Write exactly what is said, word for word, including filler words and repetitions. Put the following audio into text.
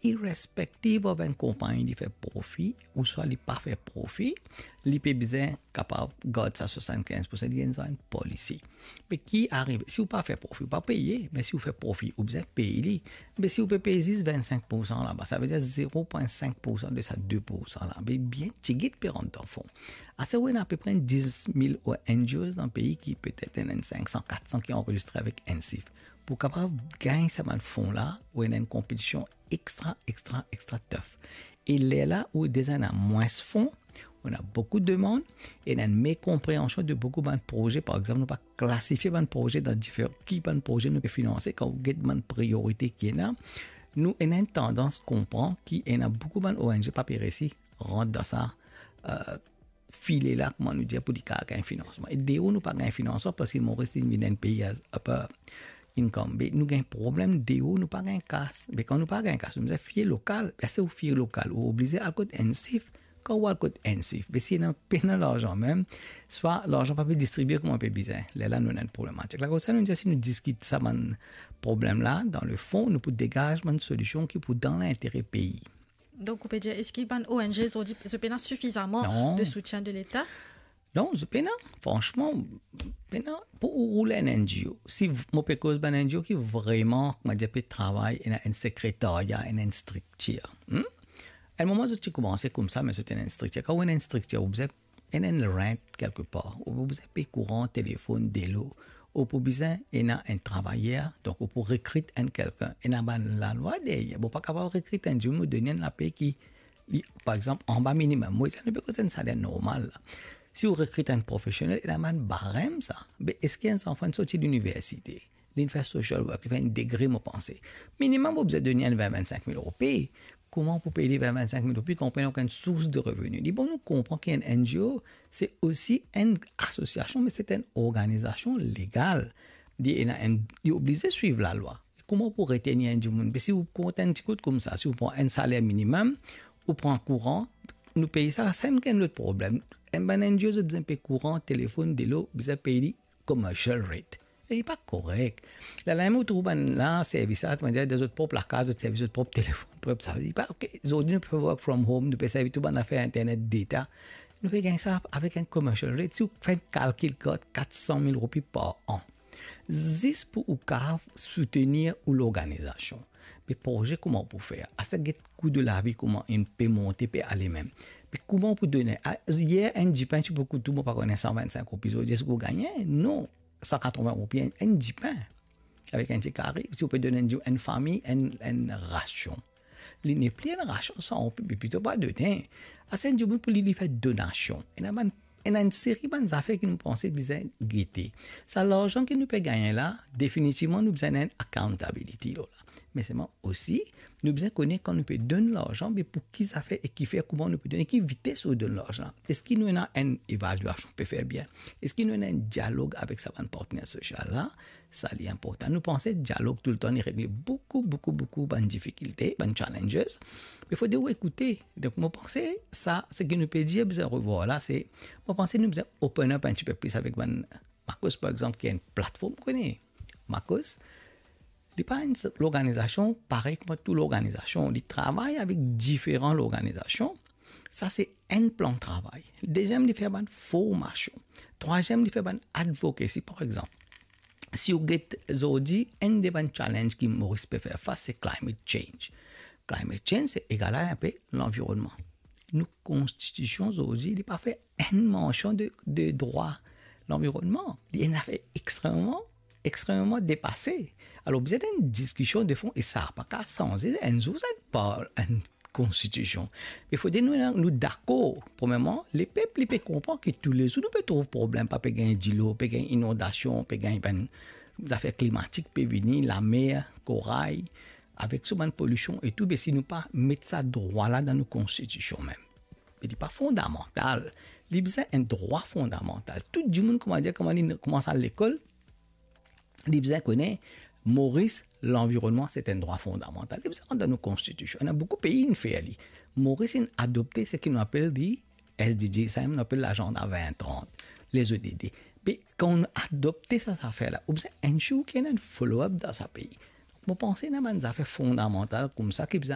irrespective of enn konpagni li fer profi ouswa li pa fer profi, li pe bizin kapav gard sa swasannkinz pousan, li enn policy. Me ki arive, si ou pa fer profi, ou pa peye, me si ou fer profi, ou bizin pey li. Me si ou pe pey zis vennsenk pousan laba, sa ve dir zero pwin sink pousan de sa de pousan la. Me bien tigit pe rant dan fon. Ase ou ena apepre dis mil O N G Os dan pei ki petet ena enn sink san, kat san ki anrezistre avek ENSIF. Pou kapav gagn sa bann fon la, ou ena enn konpetision extra, extra, extra tough. E lerla ou deza ena mwins fon, ou ena boukou demann, e ena enn mekonpreansion de boukou bann proze. Par exanp, nou pa klasifie bann proze dan difer-, ki bann proze nou pe finanse. Kan ou get bann priorite ki ena, nou ena enn tandans konpran ki ena boukou bann O N G pa pe resi rant dan sa, euh, file la, kouma nou dir, pou li kapav gagn finansman. E deor nou pa gagn finansman, parski Moris li vinn enn pei as upper income. Me nou gagn problem deor, nou pa gagn kas. Me kan nou pa gagn kas, nou bizin fie lokal. Me si ou fie lokal, ou oblize al kot ENSIF. Kan ou al kot ENSIF, me si ena pena larzan mem, swa larzan pa pe distribie kouma pe bizin. Lerla nou ena enn problematik. Lakoz sa nou dir, si nou diskit sa bann problem la, dan lefon, nou pou degaz bann solision ki pou dan lintere pei. Donk, ou pe dir, eski bann O N G zordi, zot pena sifizaman Non. de soutien de Leta? Non, zot pena, fransman, pena, pou ou roule enn N G O. Si v-, mo pe koz bann N G O ki vreman, kouma dir, pe travay, ena enn sekretarya, ena enn striktir. Hmm? Enn moman, zot ti koumanse koumsa, me zot ena enn striktir. Kan ou ena enn striktir, ou bizin ena enn rent kelkepar, ou pou bizin pey kouran, telefonn, delo, ou pou bizin ena enn travayer, donk ou pou rekrit enn kelkenn. Ena bann lalwa deryer, bon, pa kapav rekrit enn dimoun, ou donn li enn lape ki, li, par exanp, anba minimem wage, nou pe koz enn saler normal la. Si ou rekrit enn profesionel, ena bann barem sa. Me eski enn zanfan sorti liniversite, li fer social work, li fer enn degre, mo panse, minimem ou bizin donn li enn vin, vinn-sink mil roupi. Kouma pou pey li vin, vinn-sink mil roupi kan ou pena okenn sours de reveni? Li bon, nou konpran ki enn N G O, se osi enn asosiasion, me se enn organizasion legal. Li ena enn, li oblize swiv lalwa. Kouma pou retenir enn dimoun? Me si ou kont enn ti kout koumsa, si ou pran enn saler minimem, ou pran kouran, nou pey sa, sa enn lot problem. Enn bann N G O, zot bizin pey kouran, telefonn, delo, bizin pey li commercial rate. E li pa korek. Lalime ou trouv bann la servis la, kouma dir, dan zot prop lakaz, zot servi zot prop telefonn, prop sa. Li pa, ok, zordi nou pe work from home, nou pe servi tou bann zafer internet, data. Nou pe gagn sa avek enn commercial rate. Si ou fer enn kalkil, kat, kat san mil roupi par an. Zis pou ou kapav soutenir ou lorganizasion. Me proze kouma ou pou fer? Aster get kou de lavi kouma inn pe monte, pe ale mem. Me kouma ou pou donn? A, yer enn dipin ti pou kout ou, mo pa kone, san vinn-sink roupi, zordi eski ou gagne? Non. San katrovin roupi enn, enn dipin. Avek enn ti kari, si ou pe donn enn, enn fami enn, enn rasion. Li nepli enn rasion san roupi, me plito pa donn. Aster enn dimoun pou li, li fer donasion. Ena bann, ena enn seri bann zafer ki nou panse bizin gete. Sa larzan ki nou pe gagne la, definitivman nou bizin enn accountability lor la. Me selman osi, nou bizin kone kan nou pe donn larzan, me pou ki zafer e kifer, kouma nou pe donn, e ki vites ou donn larzan. Eski nou ena enn evaliasion pe fer bien? Eski nou ena enn dialog avek sa bann partner sosial la? Sa li inportan. Nou panse dialog toultan li regle boukou, boukou, boukou bann difikilte, bann challenges. Me fode ou ekoute. Donk, mo panse sa, seki nou pe dir bizin revwar la, se, mo panse nou bizin open up enn tipe plis avek bann Makos, par exanp, ki enn platform, kone. Makos, li pa enn lorganizasion parey kouma tou lorganizasion. Li travay avek diferan lorganizasion. Sa se enn plan travay. Deziem, li fer bann formasion. Trwaziem, li fer bann advocacy, par exanp. Si ou get zordi, enn de bann challenge ki Moris pe fer fas, se climate change. Climate change, se egal a enpe lanvironnman. Nou konstitision zordi, li pa fer enn mansion de, de drwa lanvironnman. Li enn zafer extrememan, extrememan depase. Alor, bizin enn diskision de fon, e sa pa kapav sanze enn zour, sa pa enn konstitision. Me fode nou, nou dakor. Premierman, lepep, li pe konpran ki toulezour nou pe trouv problem, pa pe gagn dilo, pe gagn inondasion, pe gagn bann zafer klimatik pe vini, lamer, koray, avek so bann polision e tou, be si nou pa met sa drwa la dan nou konstitision mem. Be li pa fondamantal. Li bizin enn drwa fondamantal. Tou dimoun, kouma dir, kouma li koumans al lekol, li bizin kone, Moris, lanvironnman, se enn drwa fondamantal. Li bizin rant dan nou konstitision. Ena boukou pei inn fer li. Moris inn adopte seki nou apel li S D G, sa mem nou apel lazanda vin trant, les O D D. Be kan ou adopte sa zafer la, ou bizin ensure ki ena enn follow up dan sa pei. Mo panse ena bann zafer fondamantal koumsa ki bizin